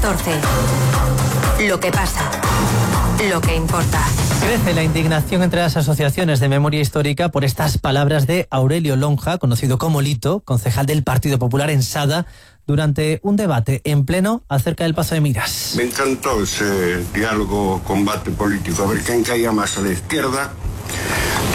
14. Lo que pasa. Lo que importa. Crece la indignación entre las asociaciones de memoria histórica por estas palabras de Aurelio Lonja, conocido como Lito, concejal del Partido Popular en Sada, durante un debate en pleno acerca del Pazo de Miras. Me encantó ese diálogo, combate político, a ver quen caía máis a la izquierda.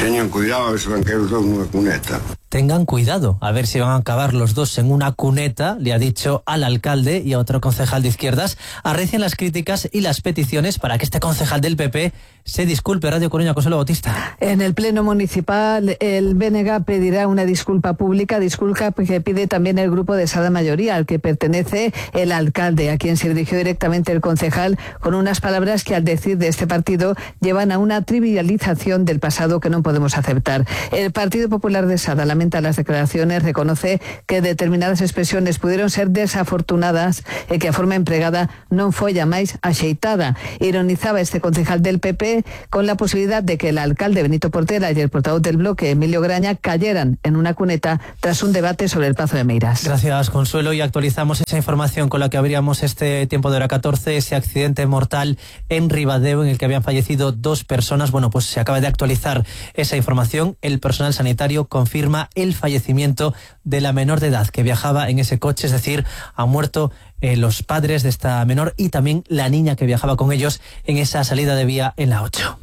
Teñan cuidado, a ver se van caer os dous nunha cuneta. Tengan cuidado, a ver si van a acabar los dos en una cuneta, le ha dicho al alcalde y a otro concejal de izquierdas. Arrecian las críticas y las peticiones para que este concejal del PP se disculpe. Radio Coruña, Consuelo Bautista. En el pleno municipal, el BNG pedirá una disculpa pública, disculpa que pide también el grupo de Sada Mayoría, al que pertenece el alcalde, a quien se dirigió directamente el concejal, con unas palabras que, al decir de este partido, llevan a una trivialización del pasado que no podemos aceptar. El Partido Popular de Sada lamenta las declaraciones, reconoce que determinadas expresiones pudieron ser desafortunadas e que a forma empregada non foi a máis axeitada. Ironizaba este concejal del PP con la posibilidad de que el alcalde Benito Portela y el portavoz del bloque Emilio Graña cayeran en una cuneta tras un debate sobre el Pazo de Meiras. Gracias, Consuelo, y actualizamos esa información con la que abríamos este tiempo de hora 14, ese accidente mortal en Ribadeo en el que habían fallecido 2 personas. Bueno, pues se acaba de actualizar esa información. El personal sanitario confirma el fallecimiento de la menor de edad que viajaba en ese coche, es decir, han muerto los padres de esta menor y también la niña que viajaba con ellos en esa salida de vía en la 8.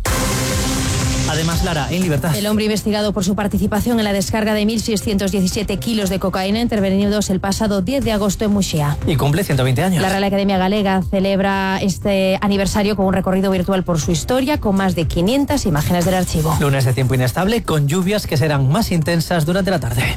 Además, Lara, en libertad. El hombre investigado por su participación en la descarga de 1.617 kilos de cocaína intervenidos el pasado 10 de agosto en Muxía. Y cumple 120 años. La Real Academia Galega celebra este aniversario con un recorrido virtual por su historia, con más de 500 imágenes del archivo. Lunes de tiempo inestable, con lluvias que serán más intensas durante la tarde.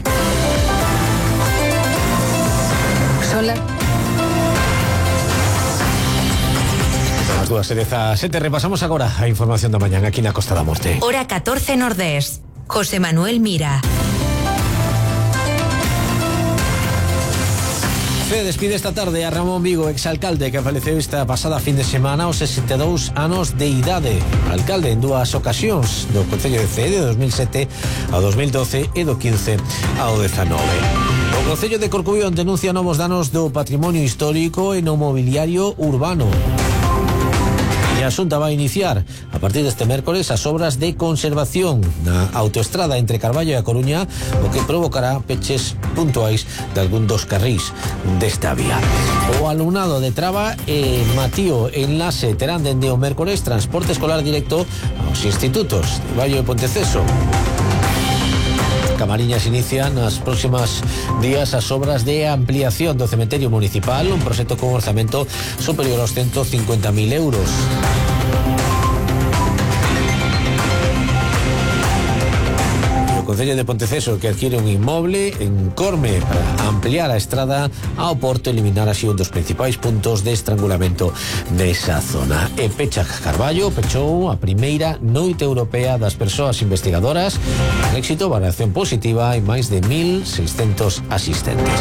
Dúas e 17, repasamos agora a información da mañán aquí na Costa da Morte. Hora 14 Nordés. José Manuel Mira. CEE despide esta tarde a Ramón Vigo, exalcalde que faleceu esta pasada fin de semana aos 62 anos de idade. Alcalde en 2 ocasións do Concello de CEE, de 2007 ao 2012 e do 15 ao 19. O Concello de Corcubión denuncia novos danos do patrimonio histórico e no mobiliario urbano. E a Xunta vai iniciar a partir deste mércores as obras de conservación na autoestrada entre Carballo e A Coruña, o que provocará peches puntuais de algún dos carrís desta vía. O alumnado de Traba e Matío Enlace terán dende o mércores transporte escolar directo aos institutos de Vallo e Ponteceso. Camariñas inicia nas próximas días as obras de ampliación do cementerio municipal, un proxecto con orzamento superior aos 150.000 euros. O Concello de Ponteceso que adquiere un inmoble en Corme para ampliar a estrada ao porto e eliminar así un dos principais puntos de estrangulamento desa zona. E Pecha Carballo pechou a primeira noite europea das persoas investigadoras con éxito, variación positiva e máis de 1.600 asistentes.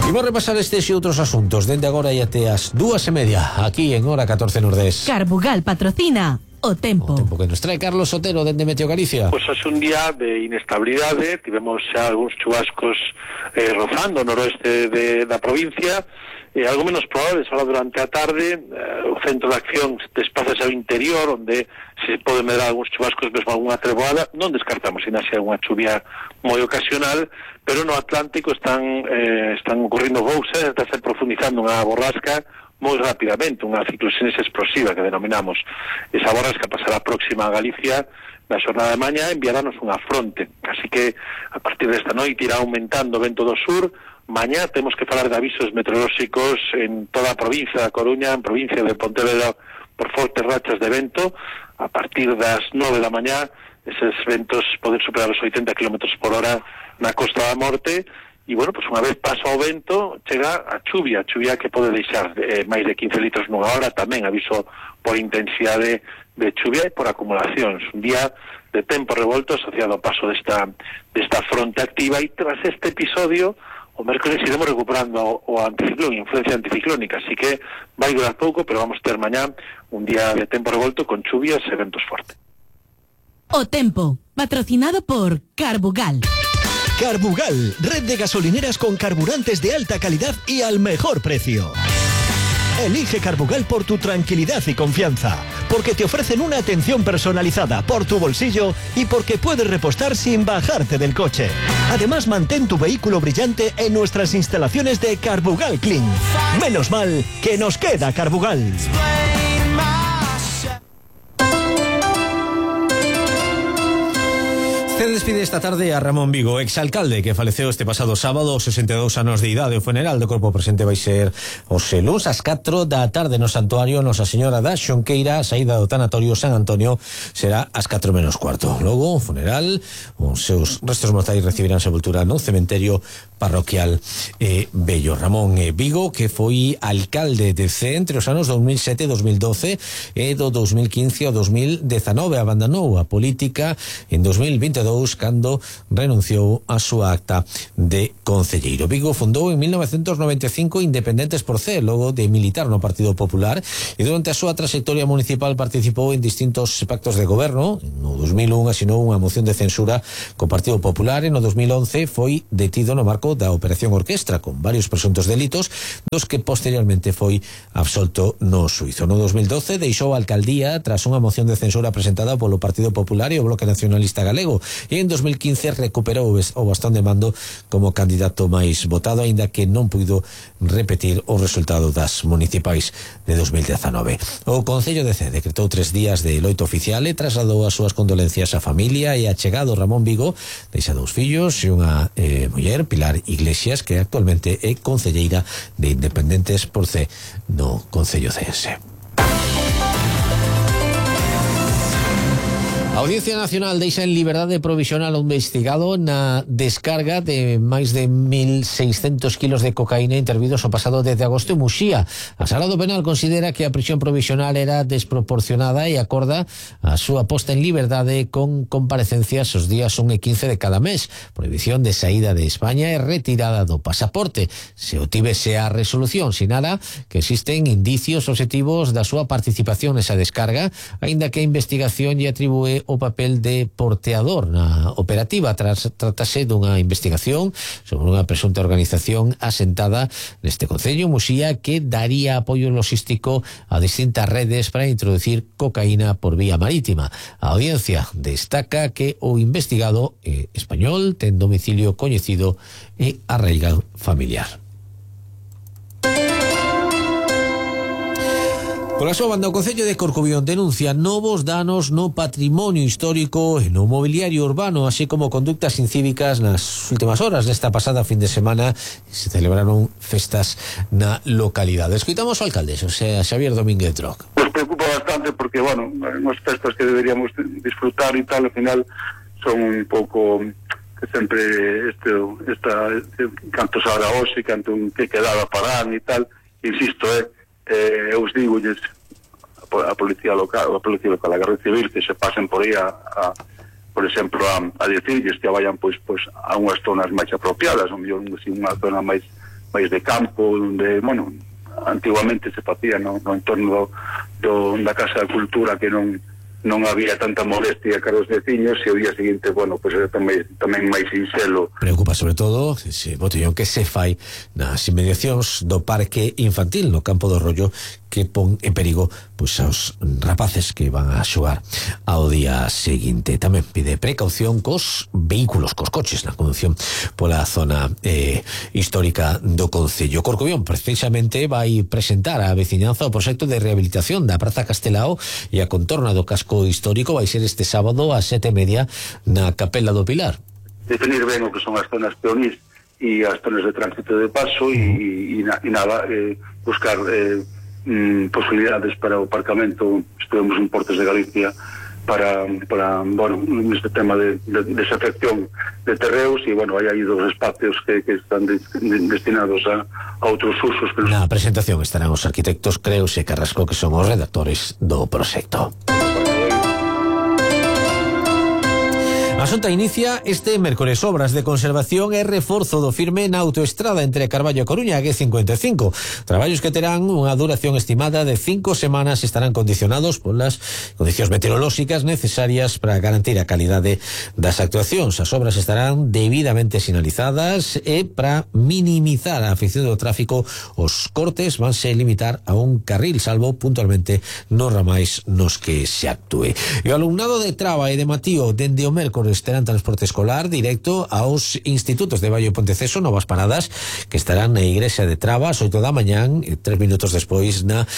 Imos repasar estes e outros asuntos dende agora e até as 2:30 aquí en Hora 14 Nordés. Carbugal patrocina O Tempo. O tempo que nos trae Carlos Sotero dende Meteo Galicia. Pois é un día de inestabilidade, tivemos xa algúns chubascos rozando o noroeste da provincia, algo menos probables ahora durante a tarde. O centro de acción despázase ao interior, onde se pode medrar algúns chubascos, mesmo algunha treboada. Non descartamos ainda se algunha chuvia moi ocasional, pero no Atlántico están ocorrendo bousas, está se profundizando unha borrasca moi rapidamente, unha cicloxénese explosiva que denominamos. Esa borrasca pasará próxima a Galicia na xornada de mañá, enviarános unha fronte, así que a partir desta noite irá aumentando o vento do sur. Mañá temos que falar de avisos meteorolóxicos en toda a provincia da Coruña, en provincia de Pontevedra, por fortes rachas de vento. A partir das 9 da mañá eses ventos poden superar os 80 km por hora na Costa da Morte. E, bueno, pues unha vez paso ao vento, chega a chuvia que pode deixar máis de 15 litros nunha hora, tamén aviso por intensidade de chuvia e por acumulacións. Un día de tempo revolto asociado ao paso desta fronte activa, e tras este episodio, o mércoles iremos recuperando o anticiclón, influencia anticiclónica, así que vai durar pouco, pero vamos ter mañá un día de tempo revolto con chuvias e ventos fortes. O Tempo, patrocinado por Carbugal. Carbugal, red de gasolineras con carburantes de alta calidad y al mejor precio. Elige Carbugal por tu tranquilidad y confianza, porque te ofrecen una atención personalizada por tu bolsillo y porque puedes repostar sin bajarte del coche. Además, mantén tu vehículo brillante en nuestras instalaciones de Carbugal Clean. Menos mal que nos queda Carbugal. Se despide esta tarde a Ramón Vigo, exalcalde que faleceu este pasado sábado, 62 anos de idade. O funeral do corpo presente vai ser os luns ás 4 da tarde no Santuario Nosa Señora da Xonqueira. A saída do tanatorio San Antonio será ás 4 menos cuarto. Logo, o funeral, os seus restos mortais recibirán sepultura no cementerio parroquial Bello. Ramón Vigo, que foi alcalde de Cee entre os anos 2007 e 2012 e do 2015 ao 2019. Abandonou a política en 2022 cando renunciou a súa acta de concelleiro. Vigo fundou en 1995 Independentes por Cee, logo de militar no Partido Popular, e durante a súa trayectoria municipal participou en distintos pactos de goberno. No 2001 asinou unha moción de censura co Partido Popular e no 2011 foi detido no marco da Operación Orquestra con varios presuntos delitos, dos que posteriormente foi absolto no xuizo. No 2012 deixou a alcaldía tras unha moción de censura presentada polo Partido Popular e o Bloque Nacionalista Galego, e en 2015 recuperou o bastón de mando como candidato máis votado, aínda que non puido repetir o resultado das municipais de 2019. O Concello de Cee decretou 3 días de loito oficial e trasladou as súas condolencias á familia e achegado Ramón Vigo. Deixa 2 fillos e unha muller, Pilar Iglesias, que actualmente é concelleira de Independentes por Cee no Concello ceense. A Audiencia Nacional deixa en liberdade provisional un investigado na descarga de máis de 1.600 kilos de cocaína intervidos o pasado 10 de agosto en Muxía. A Sala do Penal considera que a prisión provisional era desproporcionada e acorda a súa posta en liberdade con comparecencias os días 1 e 15 de cada mes, prohibición de saída de España e retirada do pasaporte. Se obtivese a resolución, sinala que existen indicios objetivos da súa participación nesa descarga, aínda que a investigación lle atribúe o papel de porteador na operativa. Tratase dunha investigación sobre unha presunta organización asentada neste concello, Muxía, que daría apoio logístico a distintas redes para introducir cocaína por vía marítima. A audiencia destaca que o investigado español ten domicilio coñecido e arraigado familiar. Pola súa banda, o Concello de Corcubión denuncia novos danos no patrimonio histórico e no mobiliario urbano, así como conductas incívicas nas últimas horas desta pasada fin de semana. Se celebraron festas na localidade. Escoitamos ao alcalde, Xosé Xavier Domínguez Droc. Nos preocupa bastante porque, bueno, unhas festas que deberíamos disfrutar e tal, ao final son un pouco que sempre canto se haga hoxe, canto que quedaba para e tal, insisto, eu os digolles a policía local, a Garda Civil, que se pasen por aí por exemplo, a decirles que vayan pois a unhas zonas máis apropiadas, unha zona máis de campo, onde, bueno, antiguamente se facía no entorno da Casa da Cultura, que non había tanta molestia cara aos veciños, e o día seguinte, bueno, pois era tamén máis sinxelo. Preocupa sobre todo ese botellón que se fai nas inmediacións do parque infantil no Campo do Rollo, que pon en perigo pois aos rapaces que van a xogar ao día seguinte. Tamén pide precaución cos vehículos, cos coches na conducción pola zona histórica do Concello. Corcubión precisamente vai presentar á veciñanza o proxecto de rehabilitación da Praza Castelao e a contorna do casco histórico. Vai ser este sábado ás 7:30 na Capela do Pilar. Definir ben o que son as zonas peonís e as zonas de tránsito de paso e nada, buscar posibilidades para o aparcamento. Estuvemos en Portos de Galicia para bueno, neste tema de desafección de terreos, e bueno, hai aí 2 espacios que están destinados a outros usos. Na presentación estarán os arquitectos Creus e Carrasco, que son os redactores do proxecto. A Xunta inicia este mércores obras de conservación e reforzo do firme na autoestrada entre Carballo e Coruña, G55. Traballos que terán unha duración estimada de 5 semanas e estarán condicionados polas condicións meteorolóxicas necesarias para garantir a calidade das actuacións. As obras estarán debidamente sinalizadas e para minimizar a afección do tráfico os cortes vanse limitar a un carril, salvo puntualmente nos ramais nos que se actúe. E o alumnado de Traba e de Matío dende o mércores terán transporte escolar directo aos institutos de Baio e Ponteceso, novas paradas que estarán na igrexa de Traba ás 8 da mañán e 3 minutos despois na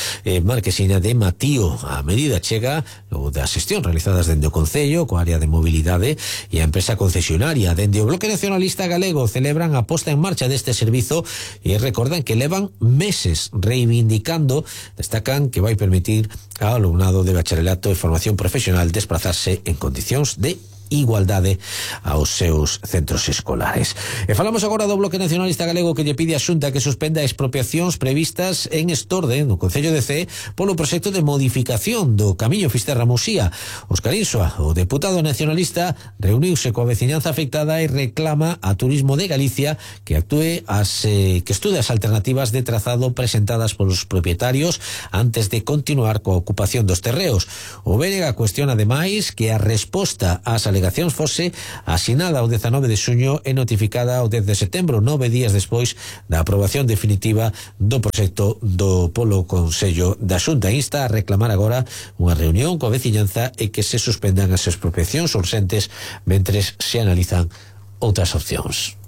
marquesina de Matío. A medida chega o das xestións realizadas dende o Concello coa área de mobilidade e a empresa concesionaria. Dende o Bloque Nacionalista Galego celebran a posta en marcha deste servizo e recordan que levan meses reivindicando, destacan que vai permitir ao alumnado de bacharelato e formación profesional desplazarse en condicións de igualdade aos seus centros escolares. E falamos agora do Bloque Nacionalista Galego que lle pide a Xunta que suspenda expropiacións previstas en Estorde, no Concello de Cee, polo proxecto de modificación do Camiño Fisterra-Musía. Óscar Insua, o deputado nacionalista, reuniuse coa veciñanza afectada e reclama a Turismo de Galicia que estude as alternativas de trazado presentadas polos propietarios antes de continuar coa ocupación dos terreos. O BNG cuestiona ademais que a resposta ás alegacións fose asinada o 19 de xuño e notificada o 10 de setembro, 9 días despois da aprobación definitiva do proxecto do polo Consello da Xunta. Insta a reclamar agora unha reunión coa veciñanza e que se suspendan as expropiacións urxentes mentres se analizan outras opcións.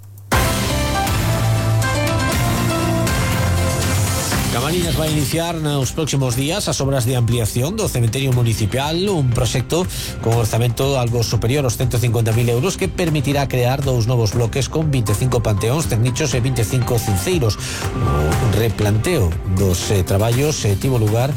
Camariñas vai iniciar nos próximos días as obras de ampliación do cementerio municipal, un proxecto con orzamento algo superior aos 150.000 euros que permitirá crear 2 novos bloques con 25 panteóns, ternichos e 25 cinceiros. O replanteo dos traballos tivo lugar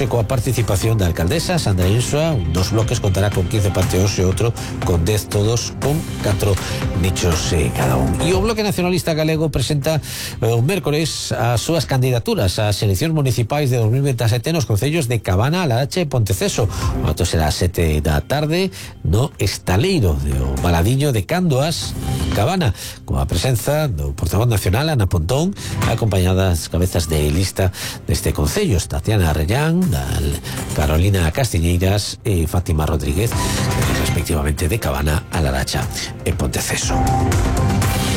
coa participación da alcaldesa Sandra Insua. 2 bloques contará con 15 panteóns e outro con 10, todos con 4 nichos cada un. E o Bloque Nacionalista Galego presenta o mércores as súas candidaturas ás eleccións municipais de 2027 nos concellos de Cabana, Laracha e Ponteceso. O acto será ás 7 da tarde no estaleiro do Baladiño de Candoas, Cabana, coa presenza do portavoz nacional Ana Pontón, acompañada das cabezas de lista deste concello, Tatiana Arrellán, Carolina Castiñeiras e Fátima Rodríguez, respectivamente de Cabana, Laracha e Ponteceso.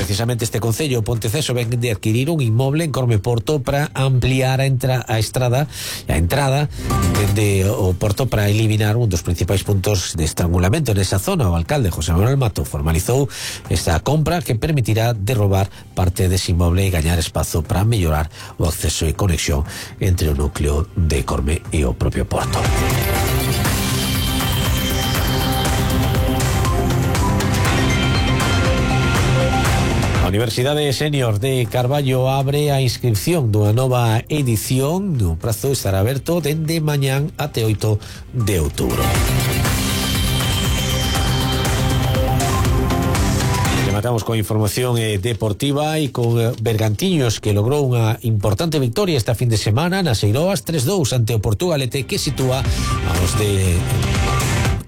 Precisamente este concello, Ponteceso, ven de adquirir un inmoble en Cormeporto para ampliar a entrada dende o porto para eliminar un dos principais puntos de estrangulamento nesa zona. O alcalde José Manuel Mato formalizou esta compra que permitirá derrobar parte dese inmoble e gañar espazo para mellorar o acceso e conexión entre o núcleo de Corme e o propio porto. Universidade Senior de Carballo abre a inscripción dunha nova edición. O prazo estará aberto dende mañán até 8 de outubro. Rematamos con información deportiva e con Bergantiños, que logrou unha importante victoria esta fin de semana nas Eiroas 3-2 ante o Portugalete, que sitúa aos de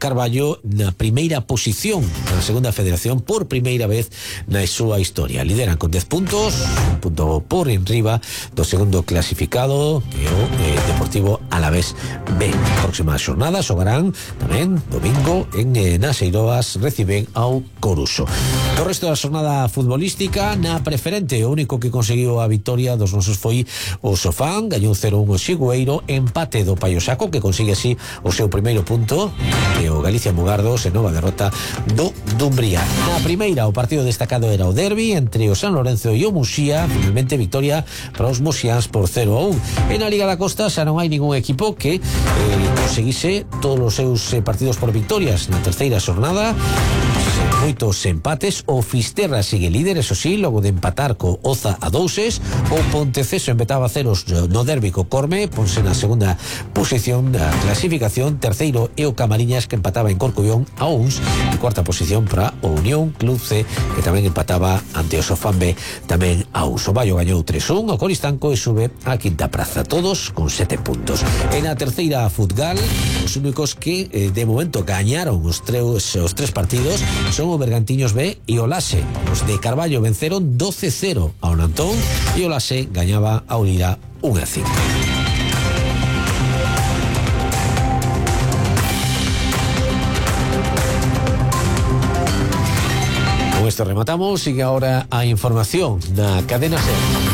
Carballo na primeira posición na segunda federación por primeira vez na súa historia. Lideran con 10 puntos, un punto por enriba do segundo clasificado, que é o Deportivo Alavés B. Próxima xornada xogarán tamén domingo en nas Eiroas, reciben ao Coruso. O resto da xornada futbolística na preferente, o único que conseguiu a victoria dos nosos foi o Sofán, gañou 0-1 o Xigueiro, empate do Paio Saco, que consigue así o seu primeiro punto, e o Galicia Mugardos en nova derrota do Dumbría. Na primeira, o partido destacado era o derbi entre o San Lorenzo e o Muxía, finalmente victoria para os muxiáns por 0-1. En a Liga da Costa xa non hai ningún equipo que conseguise todos os seus partidos por victorias. Na terceira xornada moitos empates. O Fisterra sigue líder, eso sí, logo de empatar co Oza a 2. O Ponteceso empataba a 0 no derbi co Corme, ponse na segunda posición da clasificación. Terceiro e o Camariñas, que empataba en Corcubión a 1. E cuarta posición para o Unión Club C, que tamén empataba ante o Sofán B, tamén a 1. O Baio gañou 3-1 ao Coristanco e sube á quinta praza, todos con 7 puntos. En a terceira Futgal, os únicos que de momento gañaron os tres partidos son o Bergantiños B e o Lase. Os de Carballo venceron 12-0 ao Nantón e o Lase gañaba a Lira 1-5. Con esto rematamos, sigue ahora a información na Cadena SER.